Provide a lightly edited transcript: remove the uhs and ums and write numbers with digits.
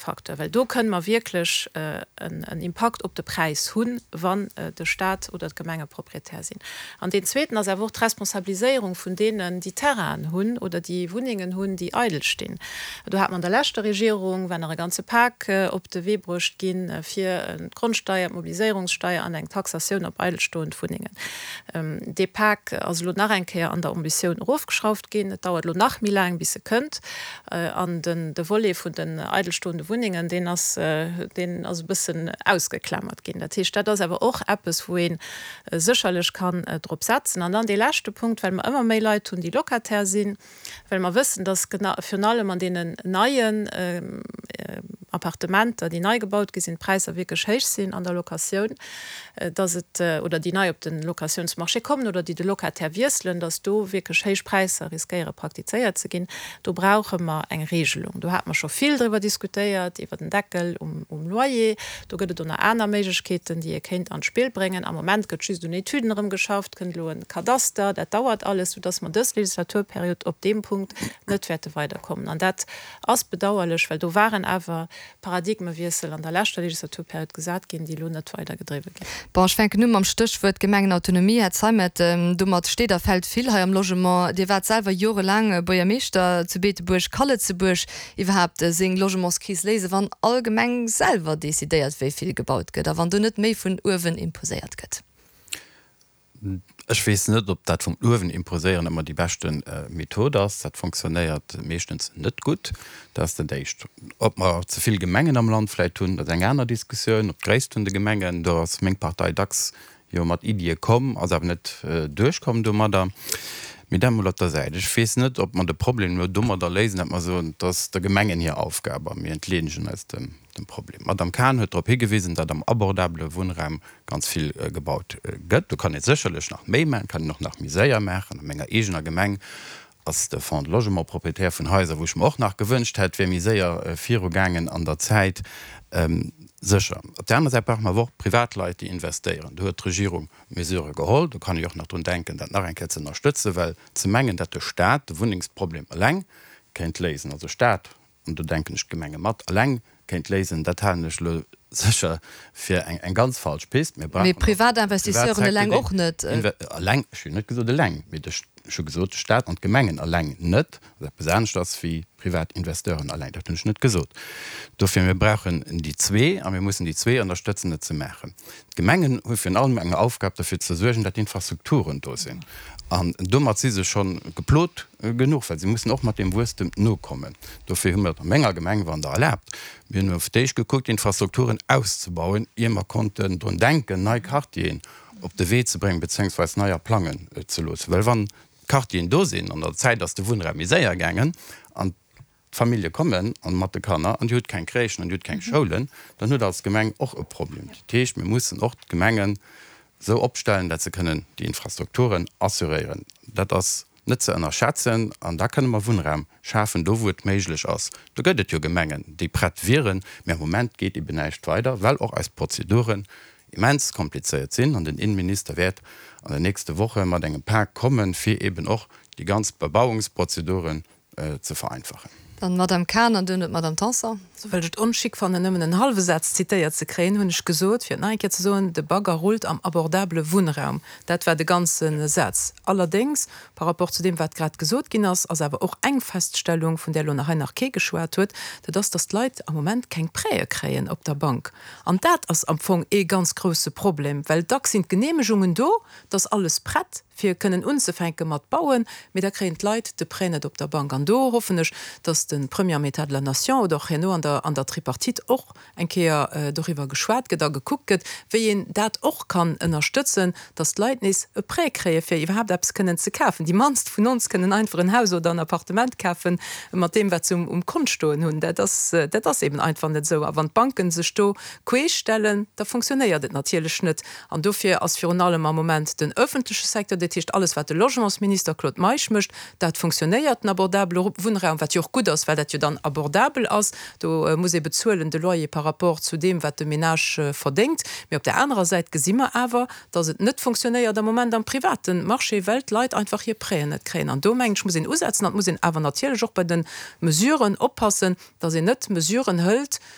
Facteur, well do kënne mer wierklech en Impakt op de Präis hunn, wann de Stat oder d'Gemenge Proprietär sinn. An deen zweeten ass awer och d'Responsabiliséierung vun deenen, déi Terrainen hunn oder déi Wunnengen hunn, déi eidel stinn. Do hat mer an der leschter Regierung, war nach e ganze Pak op de Wee bruecht ginn, fir d'Grondsteier, d'Mobiliséierungssteier an eng Taxatioun op eidelstoend Wunnengen. Dee Pak ass elo nach eng Kéier an der Ambitioun erofgeschrauft ginn. Et dauert elo nach méi laang, bis e kënnt. An den de Volet vun den eidelstoende Wunnengen, deen ass, deen ass e bëssen ausgeklamert ginn. Dat heescht, dat ass awer och eppes, wou ee sécherlech kann drop setzen. An dann dee leschte Punkt, well mer ëmmer méi Leit hunn, déi Locataire sinn, well mer wëssen, dass virun allem an deenen neien Appartementer, déi nei gebaut gi sinn, d'Präisser wierklech héich sinn an der Locatioun, dass et, oder déi nei op de Locatiounsmarché kommen oder déi de Locataire wiesselen, dass do wierklech héich Präisser riskéiere praktizéiert ze ginn. Do brauche mer eng Regelung. Do hate mer scho vill driwwer diskutéiert, iwwer den Deckel um Loyer. Do gëtt et och nach aner Méiglechkeeten, déi ee kéint an d'Spill bréngen. Am Moment gëtt just un Etüden erëm geschafft, kënnt elo e Kadaster. Dat dauert alles, soudass mer dës Legislaturperiod op deem Punkt net wäerte weiderkommen. An dat ass bedauerlech, well do waren awer Paradigmewiessel an der leschter Legislaturperiod gesat ginn, déi elo net weider gedriwwe ginn. Bon, ech fänken u mam Stéchwuert Gemengenautonomie. Här Zeimet, domat steet a fält vill hei am Logement. Dir waart selwer jorelaang Buergermeeschter zu Beetebuerg. Ka Lëtzebuerg iwwerhaapt seng Logementskris léisen, wann all Gemeng selwer decidéiert, wéi vill gebaut gëtt a wann do net méi vun uewen imposéiert gëtt? Ech weess net, ob dat vum uewen imposéieren ëmmer déi beschte Method ass. Dat fonctionnéiert meeschtens net gutt. Dat ass dat Éischt. Ob mer ze vill Gemengen am Land vläicht hunn, dat ass eng aner Diskussioun. Op d'Gréisst vun de Gemengen, do ass meng Partei dacks jo mat Iddie komm, ass awer net duerchkomm domadder. Mee dat emol op der Säit. Ech weess net, ob mer de Problem elo domadder léisen, datt mer soen, et ass der Gemengen hir Aufgab a mir entleedegen eis dem Problem. D'Madame Cahen huet drop higewisen, datt am abordabele Wunnraum ganz vill gebaut gëtt. Do kann ee sécherlech nach méi maachen, kann een och nach méi séier maachen. A menger eegener Gemeng ass de Fonds de Logement Proprietär vun Haiser, wou ech mer och nach gewënscht hätt, wär méi séier virugaangen an der Zäit. Sécher. Op där anerer Säit brauche mer awer och Privatleit, déi investéieren. Do huet d'Regierung Mesurë geholl. Do kann ee och nach drun denken, dat nach eng Kéier ze ënnerstëtzen, well ze mengen, datt de Stat de Wunnengsproblem eleng kéint léisen, also Stat, an do denken ech d'Gemenge mat, eleng kéint léisen, dat halen ech elo sécher fir eng ganz falsch Pist. Mir brauchen och de Privatinvestisseuren eleng och net. Eleng, ech hunn net gesot eleng, mee ech hu gesot de Stat an d'Gemengen eleng net, wat eppes anescht ass wéi Privatinvesteuren eleng. Dat hunn ech net gesot. Dofir, mir brauchen déi zwee a mir mussen déi zwee ënnerstëtzen, et ze maachen. D'Gemengen hu virun allem eng Aufgab, derfir ze suergen, datt d'Infrastrukturen do sinn. An domat si se scho geplot genuch, well se mussen och mat deem Wuesstem nokommen. Dofir hu mir et a menger Gemeng, wann Der erlaabt, mir hunn fir d'éischt gekuckt, d'Infrastrukturen auszebauen, ier mer konnten drun denken, nei Quartieren op de Wee ze bréngen, bezéiungsweis neier plangen ze loossen. Well wann d'Quartieren do sinn, an der Zäit ass de Wunnraum méi séier gaangen an d'Famillje kommen an mat de Kanner an Dir hutt keng Crèchen an Dir hutt keng Schoulen, dann hutt Der als Gemeng och e Problem. Dat heescht, mir mussen och d'Gemengen esou opstellen, dat se kënnen déi Infrastrukturen assuréieren. Dat ass net ze ënnerschätzen an da kënne mer Wunnraum schafen, do wou et méiglech ass. Do gëtt et jo Gemengen, déi prett wieren, mä am Moment geet eben näischt weider, well och eis Prozeduren immens komplizéiert sinn an den Innenminister wäert an den nächste Woche mat engem Pak kommen, fir eben och déi ganz Bebauungsprozeduren ze vereinfachen. Dann d'Madame Cahen an duerno d'Madame Tanson. Well ech et onchic fannen, nëmmen en hallwe Saz zitéiert ze kréien, hunn ech gesot, fir et nach eng Kéier ze soen, De Bagger rullt am abordabele Wunnraum. Dat war de ganze Saz. Allerdéngs, par rapport zu deem, wat grad gesot ginn ass, ass awer och eng Feststellung, vun där elo nach hei nach kee geschwat huet, dat ass, dass d'Leit am Moment keng Prêtë kréien op der Bank. An dat ass am Fong ee ganz grouse Problem, well dacks sinn d'Geneemegungen do, 't ass alles prett, fir kënnen unzefänke mat bauen, mee da kréien d'Leit de Prêt net op der Bank. An do hoffen ech, dass de Premier am État de la Nation oder och herno an der an der Tripartite och eng Kéier doriwwer geschwat gëtt a gekuckt gëtt, wéi een dat och kann ënnerstëtzen, dass d'Leit nees e Prêt kréie fir iwwerhaapt eppes kënnen ze kafen. Déi mannst vun ons kënnen einfach en Haus oder en Appartement kafen mat deem, wat se um Kont stoen hunn. Dat ass, dat ass eben einfach net esou. A wann d'Banken sech do queesch stellen, da fonctionnéiert et natierlech net. An dofir ass virun allem am Moment den öffentleche Secteur, dat heescht alles wat de Logementsminister Claude Meisch mécht, dat fonctionnéiert, den abordabele Wunnraum, wat jo och gutt ass, well dat jo dann abordabel ass, do muss ee bezuelen de Loyer par rapport zu deem wat de Ménage verdéngt. Mee op där anerer Säit gesi mer awer, datt et net fonctionnéiert am Moment am private Marché, well d'Leit einfach hir Prêten net kréien. An do mengen ech muss een usetzen an et muss een awer natierlech och bei de Mesuren oppassen, datt een net Mesuren hëlt,